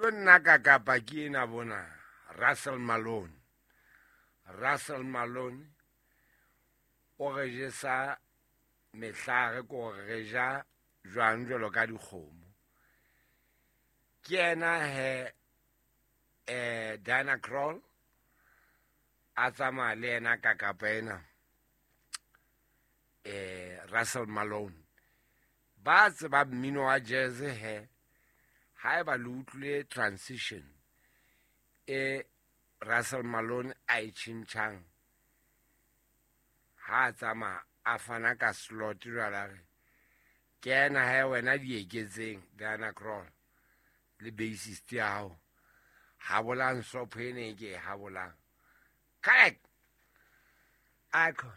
Jo nna ka kapa ke ena bona Russell Malone. Russell Malone o re jesa mehlare, ko re ja jwang jwalo ka dikgomo. Ke yena he Diana Krall a tsamaya le yena ka kapa ena Russell Malone. Ba tseba mmino wa jazz he, haeba le utlwile transition e Russell Malone a e tjhentjhang ha a tsamaya a fana ka slot jwale a re ke ena he wena di eketseng Diana Krall le bassist ya hao habolang sopho ena e ke e habolang. Correct. Akho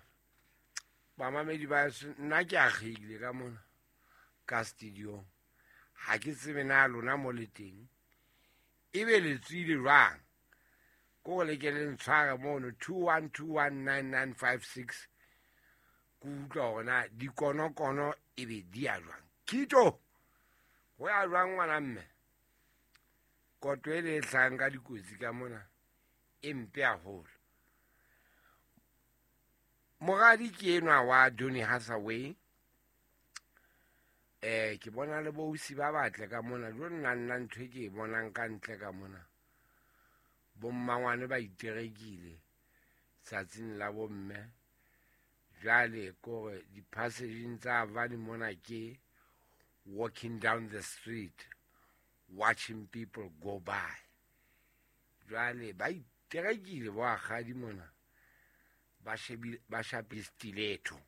bamamedi ba nna ke akgehile ka mona ka studio, ha ke tsebe na lona mo le teng ebe le tswile jwang. Ko le ke le ntshware mono 21219956 ke utlwa hore na dikonokono ebe di ya jwang. Kito ho ya jwang ngwana mme? Koto e le e hlahang ka dikotsi ka mona e mpe haholo. Moradi ke enwa wa Donny Hathaway. Ke bona le bousi ba batle ka mona. Jo nna nna ntho e ke e bonang ka ntle ka mona. Bommangwane ba iterekile tsatsing la bomme. Jwale kore di-passageng tsa Avani mona ke walking down the street watching people go by. Jwale ba iterekile bo akgadi mona ba shebile ba shapile stiletto.